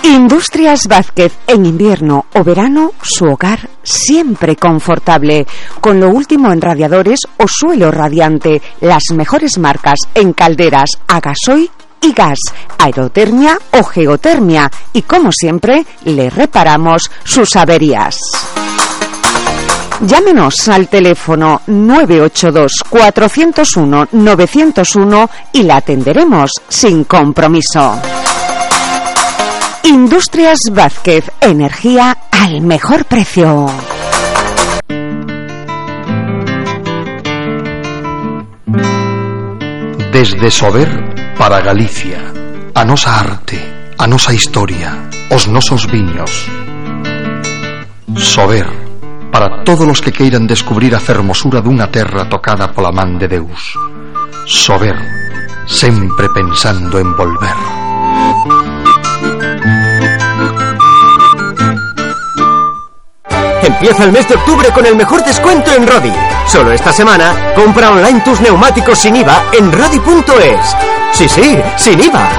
Industrias Vázquez, en invierno o verano, su hogar siempre confortable, con lo último en radiadores o suelo radiante, las mejores marcas en calderas a gasoil y gas, aerotermia o geotermia, y como siempre, le reparamos sus averías. Llámenos al teléfono 982-401-901 y la atenderemos sin compromiso. Industrias Vázquez, energía al mejor precio. Desde Sober para Galicia, a nosa arte, a nosa historia, os nosos viños. Sober, para todos os que queiran descubrir a fermosura dunha terra tocada pola man de Deus. Sober, sempre pensando en volver. Empieza el mes de octubre con el mejor descuento en Rodi. Solo esta semana, compra online tus neumáticos sin IVA en Rodi.es. Sí, sin IVA.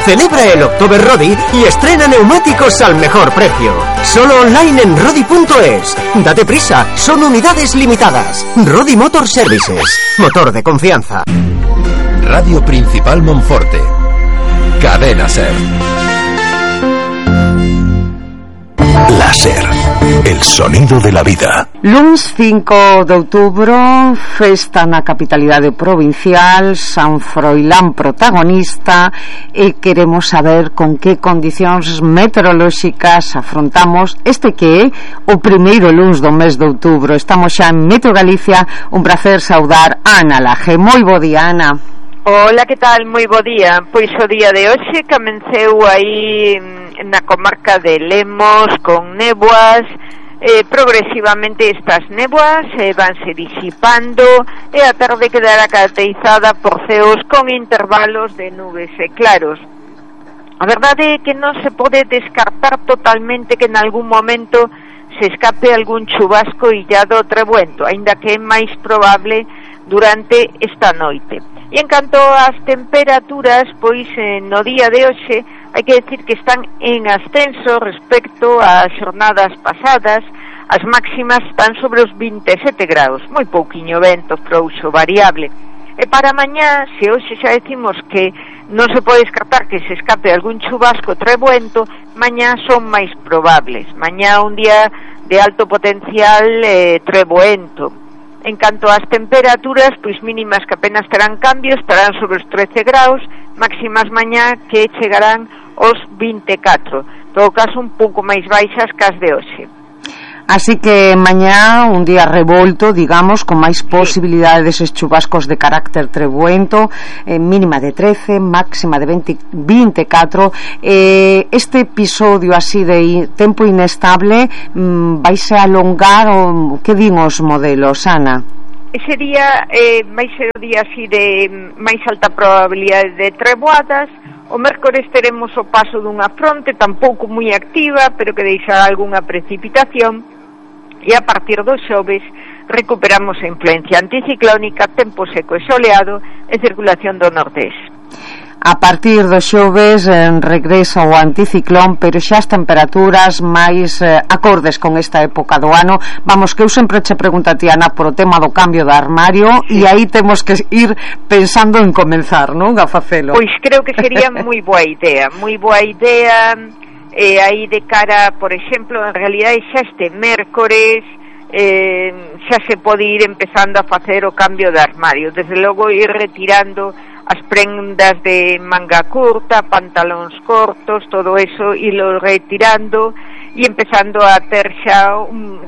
Celebra el October Rodi y estrena neumáticos al mejor precio. Solo online en Rodi.es. Date prisa, son unidades limitadas. Rodi Motor Services. Motor de confianza. Radio Principal Monforte. Cadena Ser. Láser, el sonido de la vida. Luns 5 de outubro, festa na capitalidade provincial, San Froilán protagonista, e queremos saber con que condicións meteorolóxicas afrontamos este que é o primeiro luns do mes de outubro. Estamos xa en Meteo Galicia, un placer saudar a Ana Laje. Moi bo día, Ana. Hola, que tal? Moi bo día. Pois o día de hoxe comeceu aí na comarca de Lemos con néboas. Progresivamente estas néboas vanse disipando e a tarde quedará caracterizada por ceos con intervalos de nubes e claros. A verdade é que non se pode descartar totalmente que en algún momento se escape algún chubasco illado ou trebuento, aínda que é máis probable durante esta noite. E en canto ás temperaturas, pois no día de hoxe hai que decir que están en ascenso respecto ás xornadas pasadas. As máximas están sobre os 27 graus, moi pouquiño vento, frouxo, variable. E para mañá, se hoxe xa decimos que non se pode descartar que se escape algún chubasco trebuento, mañá son máis probables. Mañá un día de alto potencial trebuento. En canto ás temperaturas, pois mínimas que apenas terán cambios, estarán sobre os 13 graus, máximas mañá que chegarán aos 24. En todo caso, un pouco máis baixas que as de hoxe. Así que mañá un día revolto, digamos, con máis posibilidades deses chubascos de carácter trebuento, mínima de 13, máxima de 24. Este episodio así de tempo inestable vaise alongar, o que din os modelos, Ana? Ese día vai ser o día así de máis alta probabilidade de treboadas. O mércores teremos o paso dunha fronte tampouco moi activa, pero que deixará algunha precipitación, e a partir do xoves recuperamos a influencia anticiclónica, tempo seco e soleado e circulación do nordés. A partir do xoves regresa o anticiclón, pero xa as temperaturas máis acordes con esta época do ano. Vamos, que eu sempre che pregunto a ti, Ana, por o tema do cambio de armario, e aí temos que ir pensando en comenzar, non? A facelo. Pois creo que sería moi boa idea, aí de cara, por exemplo, en realidade xa este mércores xa se pode ir empezando a facer o cambio de armario, desde logo ir retirando as prendas de manga curta, pantalóns cortos, todo eso, ilo retirando e empezando a ter xa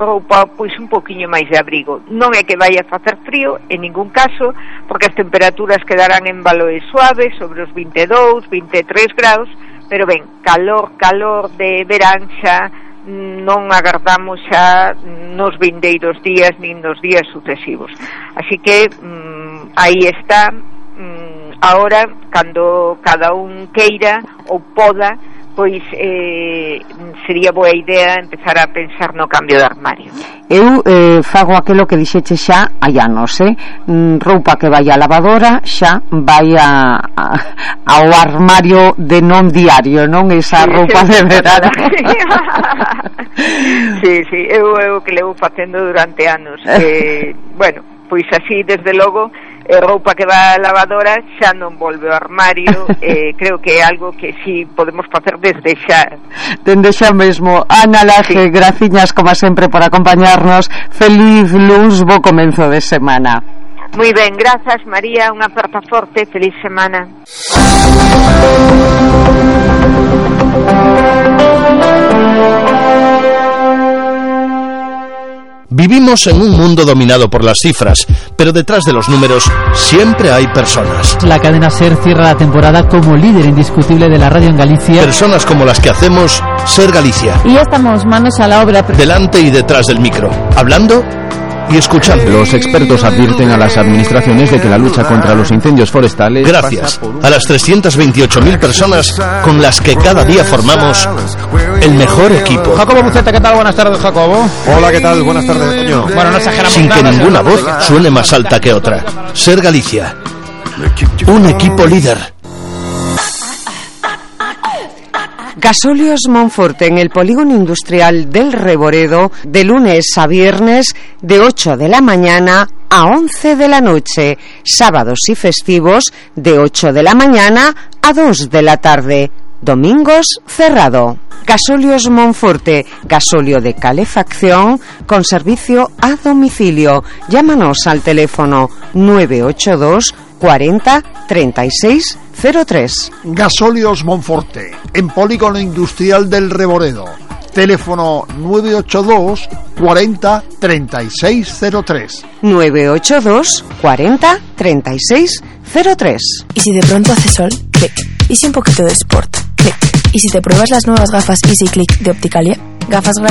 roupa pois un poquinho máis de abrigo. Non é que vai a facer frío en ningún caso, porque as temperaturas quedarán en valores suaves sobre os 22, 23 graus, pero ben, calor de verán xa non agardamos xa nos vindeiros días nin nos días sucesivos. Así que aí está. Ahora, cando cada un queira ou poda, pois sería boa idea empezar a pensar no cambio de armario. Eu fago aquilo que dixeche xa hai anos, roupa que vai á lavadora xa vai ao armario de non diario, non esa roupa de verano. Sí, eu que levo facendo durante anos. Bueno, pois así desde logo roupa que va á lavadora xa non volve ao armario. Creo que é algo que sí podemos facer desde xa. Dende xa mesmo. Ana Laje, graciñas como sempre por acompañarnos. Feliz luns, bo comenzo de semana. Moi ben, grazas María, unha aperta forte, feliz semana. Vivimos en un mundo dominado por las cifras, pero detrás de los números siempre hay personas. La cadena SER cierra la temporada como líder indiscutible de la radio en Galicia. Personas como las que hacemos SER Galicia. Y ya estamos manos a la obra. Delante y detrás del micro, hablando y escuchando. Los expertos advierten a las administraciones de que la lucha contra los incendios forestales... Gracias a las 328.000 personas con las que cada día formamos el mejor equipo. Jacobo Buceta, ¿qué tal? Buenas tardes, Jacobo. Hola, ¿qué tal? Buenas tardes, Toño. Bueno, no exageramos sin nada, que ninguna voz suene más alta que otra. SER Galicia, un equipo líder. Gasóleos Monforte en el polígono industrial del Reboredo, de lunes a viernes de 8 de la mañana a 11 de la noche, sábados y festivos de 8 de la mañana a 2 de la tarde, domingos cerrado. Gasóleos Monforte, gasóleo de calefacción con servicio a domicilio. Llámanos al teléfono 982 40 36 03. Gasóleos Monforte, en polígono industrial del Reboredo. Teléfono 982 40 36 03. 982 40 36 03. ¿Y si de pronto hace sol? Clic. ¿Y si un poquito de sport? Clic. ¿Y si te pruebas las nuevas gafas Easy Click de Opticalia? Gafas gratis